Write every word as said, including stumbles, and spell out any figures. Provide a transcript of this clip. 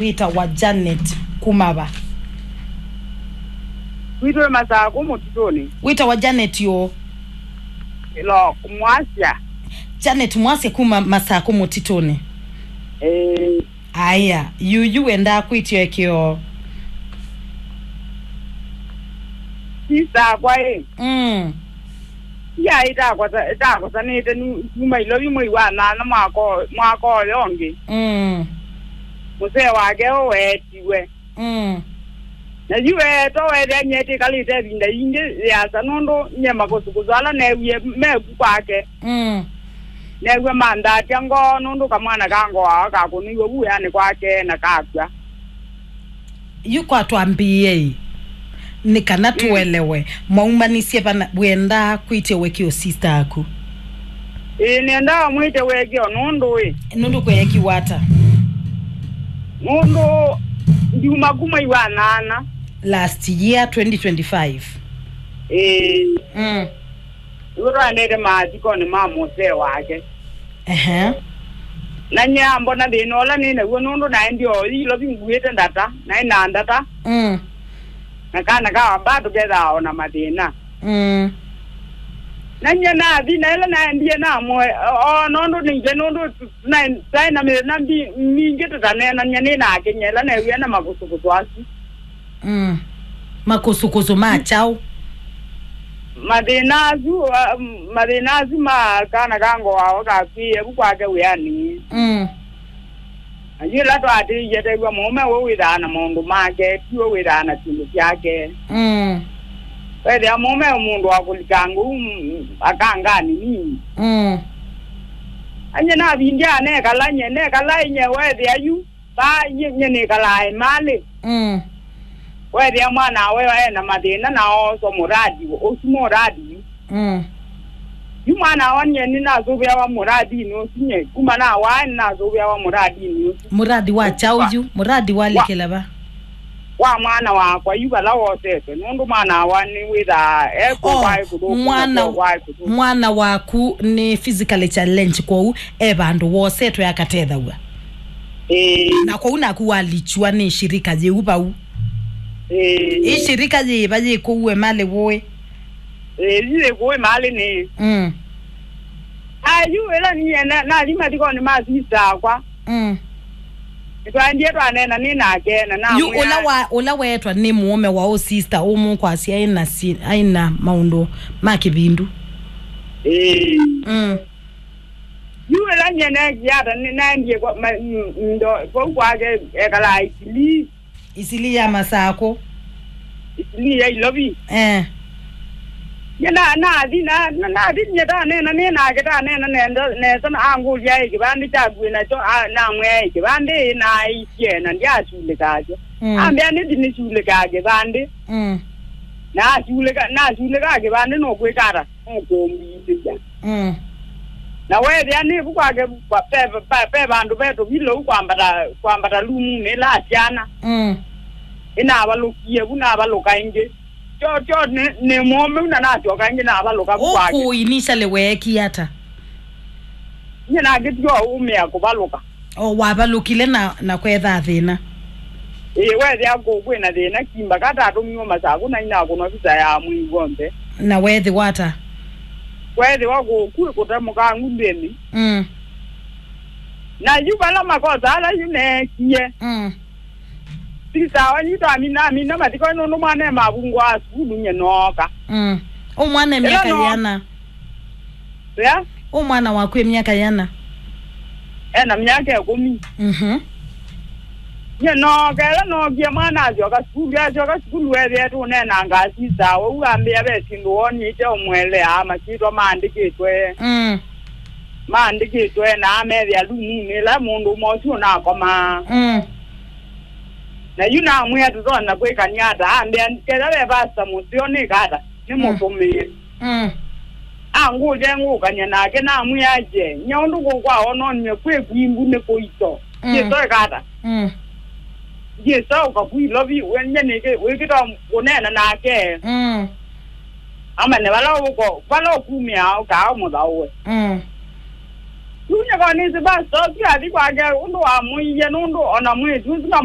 Wĩtawa Janet kuma va? Witũ wĩ Masakũ mũtitũnĩ. Wĩtawa Janet ũ? Ĩlo, Mwasya. Janet Mwasya kuma Masakũ mũtitũnĩ. Ĩĩ. Aya, yuyu wendaa kwĩtya ĩkĩo. Sista akwa ĩ. Mm. Ia ĩtakosa-, ĩtakosanĩte nu-, kuma Ilovi mwei wa nana mwaka o-, mwaka ũyo ũngĩ. Mm. Mũsee wake ũũ weetiwe. Mm. Na yu weetwa weethĩa nyie ĩtĩkalĩte ĩvinda yingĩ yĩasa nũndũ nyie makũsũkũsũ ala neewie meku kwake. Mm. Neew'a manthatya ngoo nũndũ kamwana ka ngoo ao kakũnĩiwe vu wĩanĩ kwake na kakw'a. Yu kwa twambĩĩei, nĩ kana tũelewe, mwaumanisye vana, wenda kwĩtya wekĩo sister aku? Ĩĩ, nĩendaa mwĩtye wekĩo nũndũ ĩ. Nũndũ kweekiwa ata? Nũndũ ndiuma kuma iwa nana. Last year, twenty twenty-five. Ĩĩ. Mm. Nĩw'o twaendete mathikonĩ ma mũsee wake. Ehe. Na nyie ambona thĩna ũla nĩ naw'o nũndũ naendie o Ilovi nguĩte ndata, naĩ na ndata. Mm. Na kana ka bado kethaa o na mathĩna. Mm. Na nyie nathi, na ĩla naendie namũe, o, o nũndũ nĩngĩ nũndũ tu-, tũnaĩ-, twaĩ na mĩthenya mbi-, mingĩ tũtaneenany'a nĩ nake nyie ĩla neewie na makũsũkũsũ asu. Mm. Makũsũkũsũ ma kyaũ? Mathĩna asu, a, mathĩna asu ma kana ka ngoo wao kakw'ĩĩe vu kwake wĩanĩ. Mm. Na yu ĩla twaatĩĩie tew'a mũũme ũũ wĩthaa na maũndũ make, tiwe wĩthaa na syĩndũ syake. Mm. Wethĩa mũũme e mũndũ wa kũlikanga ũu, mm, akanganĩ nini. Mm. Anye navindya nekala nye, nekala nye wethĩa yu. Vaa nye, nye nĩkalaa ĩmalĩ. Mm. Wethĩa mwana we ena mathĩna na ooswa mũradi, ũsu mũradi yu. Mm. Yu mwana wa nye nĩnasũvĩawa mũradinĩ ũsu nye. Kuma nawaa nĩnasũvĩawa mũradinĩ ũsu. Mũradi wa kyaũ yu? Mũradi wa, walekela va? Wa mwana wakwa yu vala wosetwe. Nũndũ mwana wa nĩwĩthaa e kũu, oh, kwaĩ kũthũku, mwana, kwaĩ kũthũku. Mwana waku nĩ physically challenge kwoou e vandũ wosetwe akatethaw'a? Ĩĩ. Na kwoou naku walichwa nĩ shirika yĩu vau? Ĩĩ. Ĩ shirika yĩva yĩ kũu ĩmalĩ wũĩ? Ĩĩ, yu yĩ kũu ĩmalĩ nĩ. Mm. Ayu ĩla niĩ na-, nathi mathikonĩ ma sista akwa. Mm. Nĩtwaendie twaneena nĩ nake na namwĩa. Yu ũla wa, ũla weetwa nĩ mũũme wa ũ sister ũmũkwasya aina si-, aina maũndũ ma kĩvindu? Ĩĩ. Mm. Yu ĩla nyie neekie ata, nĩ-, naendie kwa, ma-, m-, ndo, vau kwake ekalaa Isilii. Isilii ya Masakũ? Isilii ya Ilovi. Eh. Nye na, nathi, na, na, nathi nye taneena nĩ nake, taneena nenda, nesa na angũlya ĩ kĩvandĩ kyaku wĩ nakyo, a, namwĩa ĩ kĩvandĩ ĩ naaisye na ndyasulĩkaa kyo. Mm. Ambĩa nĩthi nĩsulĩkaa kĩvandĩ. Mm. Na asulĩka, nasulĩkaa kĩvandĩ nũkwĩka ata? Nũkũmbithĩsya. Mm. Na weethĩa nĩvu kwake kwa-, pe, pe, pe vandũ ve tũvilou kwambata, kwambata lumunĩ ĩla asyana. Mm. Ĩnavalũkie vu, navalũka ĩngĩ. Tyo, tyo, nĩ, nĩ mũũme na nasyoka ĩngĩ navalũka vu kwake. Ũkũ initially weekie ata? Nye nakĩtiwa ũmĩa kũvalũka. O wavalũkile na, na kwetha thĩna? Ĩĩ, wethĩa kũu kwĩna thĩna, kimba katatũmiwe Masakũ na inakũnwa visa ya mwei w'onthe. Na weethĩwa ata? Kweethĩwa kũu kwĩ kũtemũkangu nthĩnĩ. Mm. Na yu vala makosa ala yu neekie. Mm. Sista wanyu twamina, amina mathiko nũndũ mwana e mavungwa a sukulu nye nooka. Mm. Ũ mwana e ĩla myaka no- yĩana? Yeah? Ũ mwana waku e myaka yĩana? Ena myaka ĩkũmi. Mhm. Nye nooka, ĩla nookie mwana asyoka sukulu, asyoka sukulu weethĩa tũneenanga sista, ũu ambĩa ve syĩndũ wonĩte ũmũeleaa, masyĩtwa maandĩkĩtwe. Mm. Maandĩkĩtwe na amethĩa lumunĩ ĩla mũndũ ũmwe ũsu ũnakomaa. Mm. Na yu namwĩa tũtonya kwĩkany'a ata, ambĩa kethwa ve pastor mũseo nĩka ata, nĩmũtũmĩe. Mm. Angũlya ngũkany'a nake, namwĩa, "Nye ũndũ ngũkwaa wononw'e kwĩ kwimbu nĩ kũito. Mm. Ndyĩsa ĩka ata? Mm. Ndyĩsa ũka ku Ilovi, we nye nĩkĩ wĩkĩta kũneena nake?" Mm. Amanye vala ũko, vala ũkumĩa ũkaa ũmũthaũe. Mm. Yu nye Nĩsĩ basi Tosi athi kwake ũndũ wamũiie, nũndũ ona mwĩĩtu ũsu na